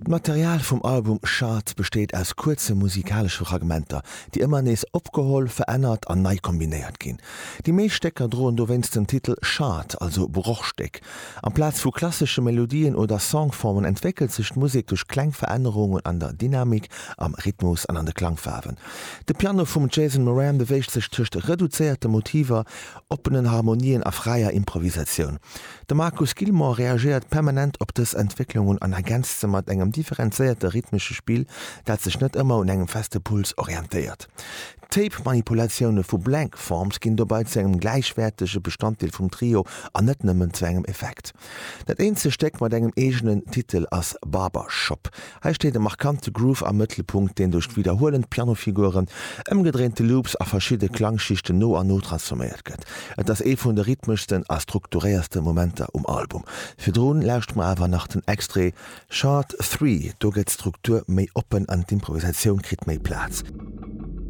D'Material vum Album Shard besteet aus kuerze musikalesche Fragmenter, déi ëmmer nees opgeholl, verännert an nei kombinéiert ginn. Déi meescht Stécker droen dowéinst den Titel Shard, also Brochstéck. Amplaz vu klassesche Melodien oder Songformen entwéckelt sech d'Musek duerch kleng Verännerungen an der Dynamik, am Rhythmus an an de Klangfaarwen. De Piano vum Jason Moran beweegt sech tëscht reduzéierte Motiver, oppenen Harmonien a fräier Improvisatioun. De Marcus Gilmore reagéiert permanent op dës Entwécklungen an ergänzt se mat engem differenzéierte rhythmesche Spill, dat sech net ëmmer un engem feste Puls orientéiert. D'Tape-Manipulatioune vu Blank Forms ginn dobei zu engem gläichwäertege Bestanddeel vum Trio an net nëmmen zu engem Effekt. Dat eenzegt Stéck mat engem eegenen Titel ass Barber Shop. Hei steet e markante Groove am Mëttelpunkt, deen duerch widderhuelend Pianofiguren, ëmgedréinte Loops a verschidde Klangschichten no an no transforméiert gëtt. Et ass ee vun de rhythmeschsten a strukturéierste Momenter um Album. Virdrun lauschteren mer awer nach den Extrait Shard 3, do gëtt d'Struktur méi oppen an d'Improvisatioun kritt méi Plaz.